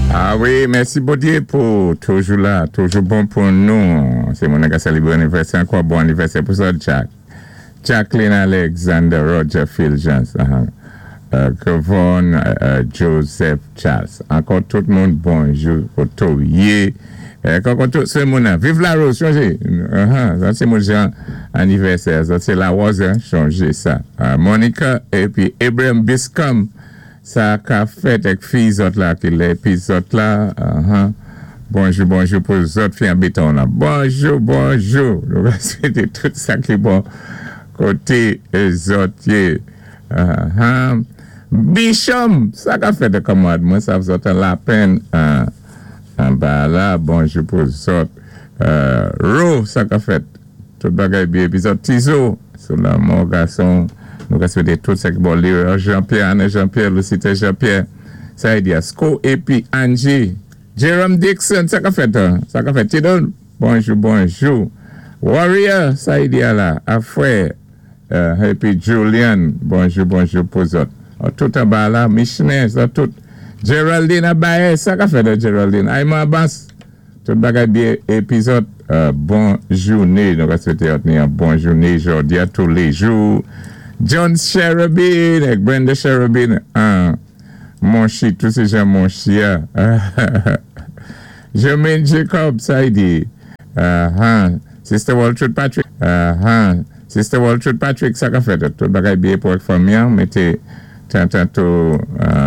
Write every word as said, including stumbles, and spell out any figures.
Ah wi, mèsi Bondyé pou toujou la, toujou bon pou nou. Sé moun ka sélébwé anivèsè ankò, bon anivèsè pou sa, Jack. Jacqueline Alexander, Roger Fulgence, uh-huh. uh, Kevon uh, Joseph Charles. Ankò tout moun bonjou pou yé. Ankò tout sé moun. Viv la rose, chonjé. Uh-huh. Sa sé moun jan anivèsè. Sa sé la rose, chonjé sa. Uh, Monica épi Abraham Biscom. Sa ka fèt ak fi zòt la ki lè pi zòt la. Uh-huh. Bonjou, bonjou pou zòt fi an béton la. Bonjou, bonjou. Nou va swété tout sa ki bon koté zòt yé. Uh-huh. Bishom, sa ka fèt kanmwad mwen sa zòt an Lapenn an, anba la. Bonjou pou zòt. Uh, Ro, sa ka fèt. Tout bagay byen. Épi zòt Tizo, sou lanmò gason. Nou ka swété tout sa ki bon. Léo Jean-Pierre, Anne Jean-Pierre, Lucita Jean-Pierre. Sa yi di Asko, épi Angie. Jerome Dixon, sa ka fèt. Sa ka fèt. Tidon, bonjou, bonjou. Warrior, sa yi di la. Afrè. Uh, épi Julian, bonjou, bonjou pou zòt. Tout anba la, Michelin, sa tout. Geraldine Abaye, sa ka fèt Geraldine. Ayman Abbas, tout bagay byen. Épi zòt, uh, bon jouné. Nou ka swété ni yon bon jouné jòdi a tous les jours. John Cherubin, ak Brenda Cherubin, uh, Monchi, tout sé jan Monchi a. Jermaine Jacob, sa yi di. Uh-huh. Sister Walter Patrick, uh-huh. Sister Walter Patrick, sa ka fèt. Tout bagay byen pou fanmi, mété tantanto uh,